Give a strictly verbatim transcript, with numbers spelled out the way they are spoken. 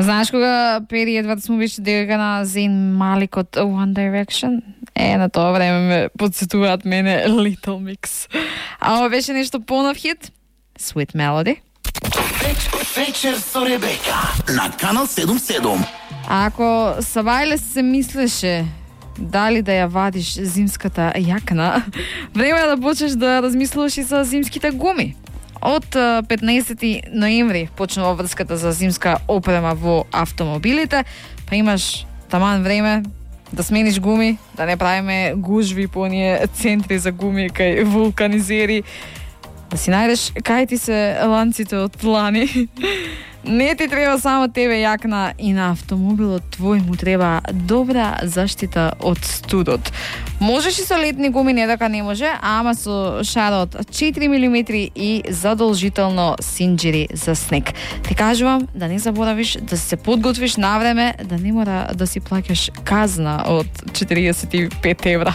Знаеш кога Пери Едвардс му беше дека на Зейн Малик од One Direction? Е, на тоа време ме подсетуваат мене Little Mix. А ова беше нешто понов хит? Sweet Melody. Вечер со Ребека на Канал седум седум. А ако Савајле се мислеше дали да ја вадиш зимската јакна, време е да почнеш да размислуваш и за зимските гуми. Од петнаесети ноември почнува врската за зимска опрема во автомобилите, па имаш таман време да смениш гуми, да не правиме гужви по оние центри за гуми кај вулканизери, да си најдеш кај ти се ланците од лани. Не ти треба само тебе јакна, и на автомобилот твој му треба добра заштита од студот. Можеш и со летни гуми, не дека не може, ама со шарот четири милиметри и задолжително синџири за снег. Ти кажувам да не заборавиш да се подготвиш на време, да не мора да си плаќаш казна од четириесет и пет евра.